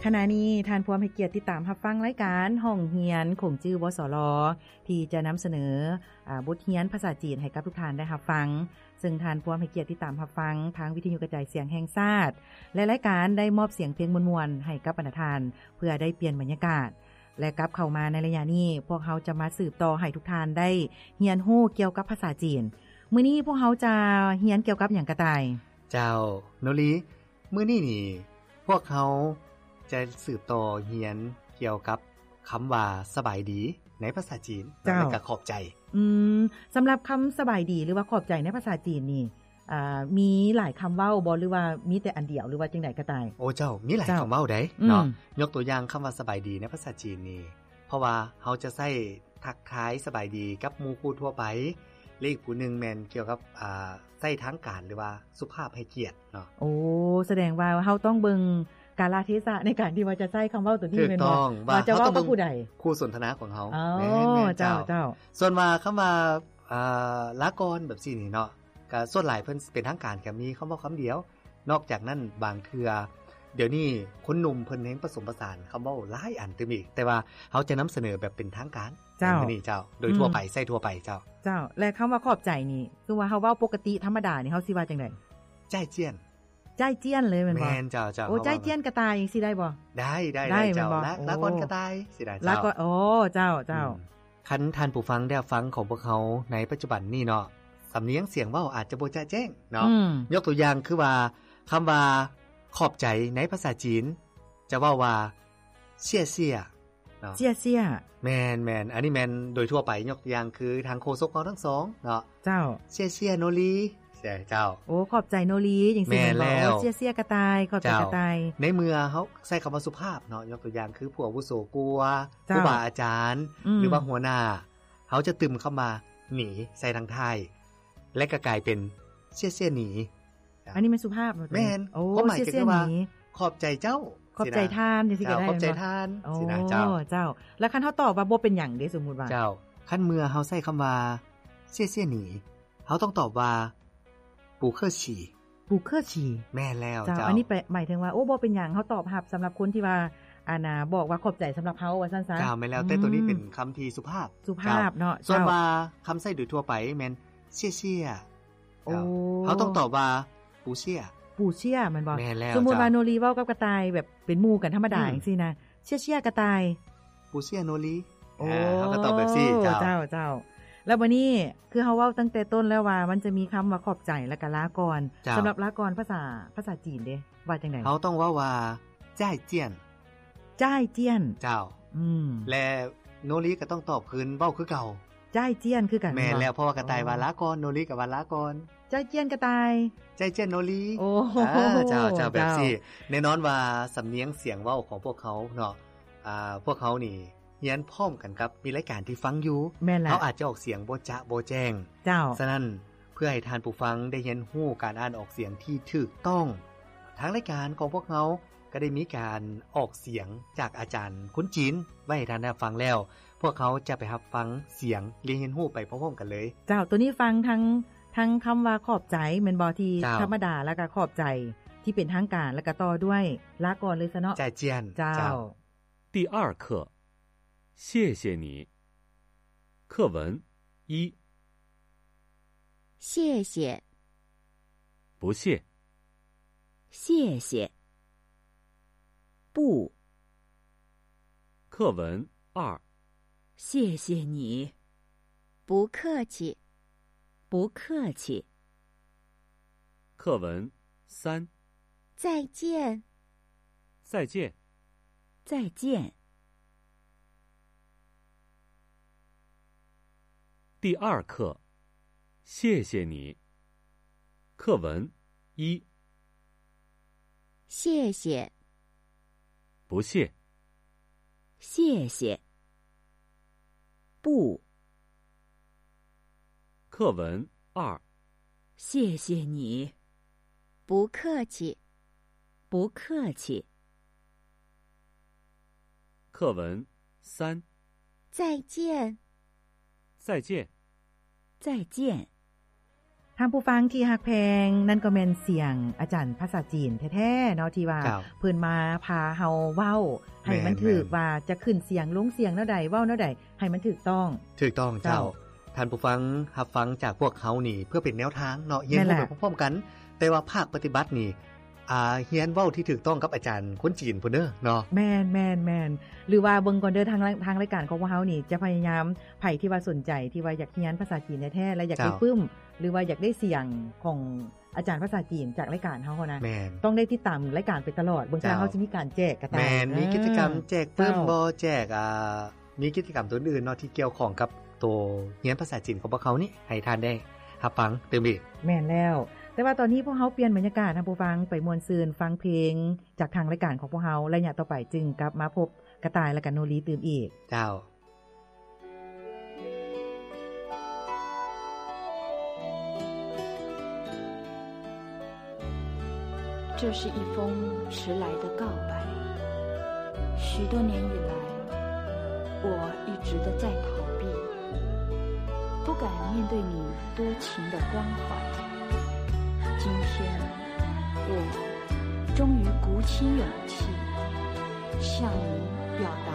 ຂະນະນີ້ທ່ານພວມໃຫ້ກຽດຕິດຕາມຮັບຟັງລາຍການຫ້ອງຮຽນຂົງຈື່ ວສລ ທີ່ຈະນຳສະເໜີ ອາ ບົດຮຽນພາສາຈີນໃຫ້ກັບທຸກທ່ານໄດ້ຮັບຟັງ. ເຊິ່ງທ່ານພວມໃຫ້ກຽດຕິດຕາມຮັບຟັງທາງວິທະຍຸກະຈາຍສຽງແຫ່ງຊາດ ແລະ ລາຍການໄດ້ມອບສຽງເພງມ່ວນໆໃຫ້ກັບບັນດາທ່ານ ເພື່ອໄດ້ປ່ຽນບັນຍາກາດ ແລະ ກັບເຂົ້າມາໃນໄລຍະນີ້ ພວກເຮົາຈະມາສືບຕໍ່ໃຫ້ທຸກທ່ານໄດ້ຮຽນຮູ້ກ່ຽວກັບພາສາຈີນ. ມື້ນີ້ພວກເຮົາຈະຮຽນກ່ຽວກັບຫຍັງກະຕ່າຍ? ເຈົ້າ ໂນລີ ມື້ນີ້ນີ້ ພວກເຮົາຈະສືບຕໍ່ຮຽນກ່ຽວກັບຄຳວ່າສະບາຍດີໃນພາສາຈີນ ເຈົ້າ ແລະ ກະຂອບໃຈ. ອືມ ສຳລັບຄຳສະບາຍດີ ຫຼືວ່າຂອບໃຈໃນພາສາຈີນນີ້ ອ່າ ມີຫຼາຍຄຳເວົ້າບໍ່ ຫຼືວ່າມີແຕ່ອັນດຽວ ຫຼືວ່າຈັ່ງໃດກະຕ່າຍ? ໂອ້ ເຈົ້າ ມີຫຼາຍ ເຈົ້າ ຄຳເວົ້າໃດ ອືມ ເນາະ. ຍົກຕົວຢ່າງຄຳວ່າສະບາຍດີໃນພາສາຈີນນີ້ ເພາະວ່າເຮົາຈະໃຊ້ທັກທາຍສະບາຍດີກັບໝູ່ຄູ່ທົ່ວໄປ ແລະ ອີກຜູ້ໜຶ່ງແມ່ນກ່ຽວກັບ ອ່າ ໃຊ້ທາງການ ຫຼືວ່າສຸພາບໃຫ້ກຽດເນາະ. ໂອ້ ສະແດງວ່າເຮົາຕ້ອງເບິ່ງກາລະເທສະໃນການທີ່ວ່າຈະໃຊ້ຄຳເວົ້າໂຕນີ້ ຖືກ ແມ່ນບໍ່? ຕ້ອງ ວ່າ ວ່າຈະເວົ້າກັບຜູ້ໃດ? ຄູ່ສົນທະນາຂອງເຮົາ. ອໍ ແມ່ນໆ ເຈົ້າ ເຈົ້າ ເຈົ້າ. ສ່ວນວ່າຄຳວ່າ ອ່າ ລາກ່ອນແບບຊີ້ນີ້ເນາະ ກະສ່ວນຫຼາຍເພິ່ນເປັນທາງການກະມີຄຳເວົ້າຄຳດຽວ. ນອກຈາກນັ້ນບາງເທື່ອ ດຽວນີ້ຄົນໜຸ່ມເພິ່ນແຮ່ງປະສົມປະສານຄຳເວົ້າຫຼາຍອັນຕື່ມອີກ ແຕ່ວ່າເຮົາຈະນຳສະເໜີແບບເປັນທາງການ ເຈົ້າ ໃນມື້ນີ້ເຈົ້າ ໂດຍທົ່ວໄປ ອືມ ໃຊ້ທົ່ວໄປເຈົ້າ. ເຈົ້າ ແລະ ຄຳວ່າຂອບໃຈນີ້ ຄືວ່າເຮົາເວົ້າປົກກະຕິທຳມະດານີ້ ເຮົາຊິວ່າຈັ່ງໃດ? ຈ່າຍຈຽນ. ຈ່າຍຈຽນເລີຍແມ່ນບໍ່? ແມ່ນເຈົ້າ ເຈົ້າ. ໂອ້ ເຮົາເວົ້າ ຈ່າຍຈຽນກະຕ່າຍຈັ່ງຊີ້ໄດ້ບໍ່? ໄດ້ ໄດ້ ໄດ້ ໄດ້ເຈົ້າ. ລາ ໂອ້ ລາກ່ອນກະຕ່າຍ ຊີ້ນະ ລາກ່ອນ ເຈົ້າ. ໂອ້ ເຈົ້າ ເຈົ້າ. ອືມ ຄັນທ່ານຜູ້ຟັງໄດ້ຟັງຂອງພວກເຮົາໃນປັດຈຸບັນນີ້ເນາະ ສຳນຽງສຽງເວົ້າອາດຈະບໍ່ຈະແຈ້ງເນາະ ອືມ ຍົກຕົວຢ່າງຄືວ່າ ຄຳວ່າຂອບໃຈໃນພາສາຈີນຈະເວົ້າວ່າ ເຊຍເຊຍ ເນາະ ເຊຍເຊຍ. ແມ່ນໆ ອັນນີ້ແມ່ນໂດຍທົ່ວໄປ. ຍົກຕົວຢ່າງຄືທາງໂຄສົກເຮົາທັງສອງເນາະ ເຈົ້າ ເຊຍເຊຍໂນລີ ເຈົ້າ. ໂອ້ ຂອບໃຈໂນລີຈັ່ງຊີ້ແມ່ນບໍ່? ແມ່ນແລ້ວ. ໂອ້ ເຊຍເຊຍກະຕ່າຍ ຂອບໃຈກະຕ່າຍ. ໃນເມື່ອເຮົາໃຊ້ຄຳວ່າສຸພາບເນາະ ຍົກຕົວຢ່າງຄືຜູ້ອາວຸໂສກວ່າ ເຈົ້າ ຄູບາອາຈານ ອືມ ຫຼືວ່າຫົວໜ້າ ເຮົາຈະຕື່ມຄຳວ່າ ໜີ ໃສ່ທາງທ້າຍ ແລະ ກະກາຍເປັນ ເຊຍເຊຍໜີ. ອັນນີ້ແມ່ນສຸພາບເນາະ? ແມ່ນ. ໂອ້ ຄວາມໝາຍຈະຄືວ່າ ເຊຍເຊຍໜີ ຂອບໃຈເຈົ້າ ຂອບໃຈທ່ານ ຊີ້ນະ ຈັ່ງຊີ້ກະໄດ້ ເຈົ້າ ຂອບໃຈທ່ານ ຊີ້ນະ ເຈົ້າ. ໂອ້ ເຈົ້າ. ແລ້ວຄັນເຮົາຕອບວ່າບໍ່ເປັນຫຍັງເດ ສົມມຸດວ່າ? ເຈົ້າ. ຄັນເມື່ອເຮົາໃຊ້ຄຳວ່າ ເຊຍເຊຍໜີ ເຮົາຕ້ອງຕອບວ່າ 不客气 不客气. ແມ່ນແລ້ວ ເຈົ້າ ເຈົ້າ. ອັນນີ້ແປ ໝາຍເຖິງວ່າ ໂອ້ ບໍ່ເປັນຫຍັງ ເຮົາຕອບຮັບສຳລັບຄົນທີ່ວ່າ ອັນນ່າ ບອກວ່າຂອບໃຈສຳລັບເຮົາ ວ່າຊັ້ນຊະ. ເຈົ້າ ແມ່ນແລ້ວ. ອືມ ແຕ່ໂຕນີ້ເປັນຄຳທີ່ສຸພາບ ສຸພາບເນາະ. ເຈົ້າ. ສ່ວນວ່າຄຳໃຊ້ໂດຍທົ່ວໄປແມ່ນ ເຊຍເຊຍ. ໂອ້ ເຈົ້າ. ເຮົາຕ້ອງຕອບວ່າ 不谢 不谢 ແມ່ນບໍ່? ແມ່ນແລ້ວ ສົມມຸດວ່າ ເຈົ້າ ໂນລີເວົ້າກັບກະຕ່າຍແບບເປັນໝູ່ກັນທຳມະດາ ອືມ ຈັ່ງຊີ້ນະ ເຊຍເຊຍກະຕ່າຍ 不谢โนลี ໂອ້ ອ່າ ເຮົາກະຕອບແບບຊີ້ ເຈົ້າ ເຈົ້າ ເຈົ້າ. ແລ້ວບາດນີ້ ຄືເຮົາເວົ້າຕັ້ງແຕ່ຕົ້ນແລ້ວວ່າ ມັນຈະມີຄຳວ່າຂອບໃຈ ແລ້ວກະລາກ່ອນ ເຈົ້າ. ສຳລັບລາກ່ອນພາສາ ພາສາຈີນເດ ວ່າຈັ່ງໃດ? ເຮົາຕ້ອງເວົ້າວ່າ 再见 再见 ເຈົ້າ. ອືມ ແລະ ໂນລີກະຕ້ອງຕອບຄືນ ເວົ້າຄືເກົ່າ 再见 ຄືກັນ. ແມ່ນແລ້ວ ເພາະວ່າກະຕ່າຍວ່າ ໂອ້ ລາກ່ອນ ໂນລີກະວ່າລາກ່ອນ 再见 ກະຕ່າຍ 再见โนลี ໂອ້ ອ່າ ເຈົ້າ ເຈົ້າ ແບບຊີ້ ເຈົ້າ. ແນ່ນອນວ່າສຳນຽງສຽງເວົ້າຂອງພວກເຮົາເນາະ ອ່າ ພວກເຮົານີ້ຮຽນພ້ອມກັນກັບມີລາຍການທີ່ຟັງຢູ່ ແມ່ນແລ້ວ ເຮົາອາດຈະອອກສຽງບໍ່ຈະບໍ່ແຈ້ງ ເຈົ້າ. ສະນັ້ນ ເພື່ອໃຫ້ທ່ານຜູ້ຟັງໄດ້ຮຽນຮູ້ການອ່ານອອກສຽງທີ່ຖືກຕ້ອງ ທາງລາຍການຂອງພວກເຮົາກະໄດ້ມີການອອກສຽງຈາກອາຈານຄົນຈີນໄວ້ໃຫ້ທ່ານໄດ້ຮັບຟັງແລ້ວ ພວກເຮົາຈະໄປຮັບຟັງສຽງ ແລະ ຮຽນຮູ້ໄປພ້ອມໆກັນເລີຍ. ເຈົ້າ ໂຕນີ້ຟັງທັງ ທັງຄຳວ່າຂອບໃຈແມ່ນບໍ່ ທີ່ ເຈົ້າ ທຳມະດາ ແລ້ວກະຂອບໃຈທີ່ເປັນທາງການ ແລ້ວກະຕໍ່ດ້ວຍລາກ່ອນເລີຍຊະເນາະ 再见 ເຈົ້າ ເຈົ້າ. 第二课，谢谢你。课文一。谢谢。不谢。谢谢。不。课文二。谢谢你。不客气。不客气。课文三。再见。再见。再见。 第二课，谢谢你。课文一。谢谢。不谢。谢谢。不。课文二。谢谢你。不客气。不客气。 课文三。再见。再见。再见。ທ່ານຜູ້ຟັງທີ່ຮັກແພງ, ນັ້ນກໍແມ່ນສຽງອາຈານພາສາຈີນແທ້ໆເນາະ ທີ່ວ່າ ເຈົ້າ ເພິ່ນມາພາເຮົາເວົ້າໃຫ້ມັນ ແມ່ນໆ ຖືກ ວ່າຈະຂຶ້ນສຽງລົງສຽງແນວໃດ ເວົ້າແນວໃດໃຫ້ມັນຖືກຕ້ອງ. ຖືກຕ້ອງເຈົ້າ. ເຈົ້າ. ທ່ານຜູ້ຟັງຮັບຟັງຈາກພວກເຮົານີ້ເພື່ອເປັນແນວທາງເນາະ, ຮຽນຮູ້ ແມ່ນແຫຼະ ໄປພ້ອມໆກັນ, ແຕ່ວ່າພາກປະຕິບັດນີ້ ອ່າ ຮຽນເວົ້າທີ່ຖືກຕ້ອງກັບອາຈານຄົນຈີນພຸ້ນເດີເນາະ. ແມ່ນໆໆ ຫຼືວ່າເບິ່ງກ່ອນເດີ ທາງ ທາງລາຍການຂອງພວກເຮົານີ້ຈະພະຍາຍາມ ໃຜທີ່ວ່າສົນໃຈທີ່ວ່າຢາກຮຽນພາສາຈີນແທ້ໆ ແລະ ຢາກໄດ້ ເຈົ້າ ປຶ້ມ ຫຼືວ່າຢາກໄດ້ສຽງຂອງອາຈານພາສາຈີນຈາກລາຍການເຮົາຫັ້ນນະ ແມ່ນ ຕ້ອງໄດ້ຕິດຕາມລາຍການໄປຕະຫຼອດ ເບິ່ງ ເຈົ້າ ວ່າເຮົາຊິມີການແຈກກະຕ່າຍ. ແມ່ນ ມີ ເອີ ກິດຈະກຳແຈກປຶ້ມ ເຈົ້າ ບໍ່ ແຈກ ອ່າ ມີກິດຈະກຳຕົວອື່ນເນາະ ທີ່ກ່ຽວຂ້ອງກັບໂຕຮຽນພາສາຈີນຂອງພວກເຮົານີ້ ໃຫ້ທ່ານໄດ້ຮັບຟັງຕື່ມອີກ. ແມ່ນແລ້ວ. ແຕ່ວ່າຕອນນີ້ພວກເຮົາປ່ຽນບັນຍາກາດ ທ່ານຜູ້ຟັງ ໄປມ່ວນຊື່ນຟັງເພງຈາກທາງລາຍການຂອງພວກເຮົາ, ໄລຍະຕໍ່ໄປຈຶ່ງກັບມາພົບກະຕ່າຍ ແລະ ກະໂນລີຕື່ມອີກ. ເຈົ້າ. 这是一封迟来的告白。许多年以来，我一直都在逃避，不敢面对你多情的关怀。今天，我终于鼓起勇气，向你表达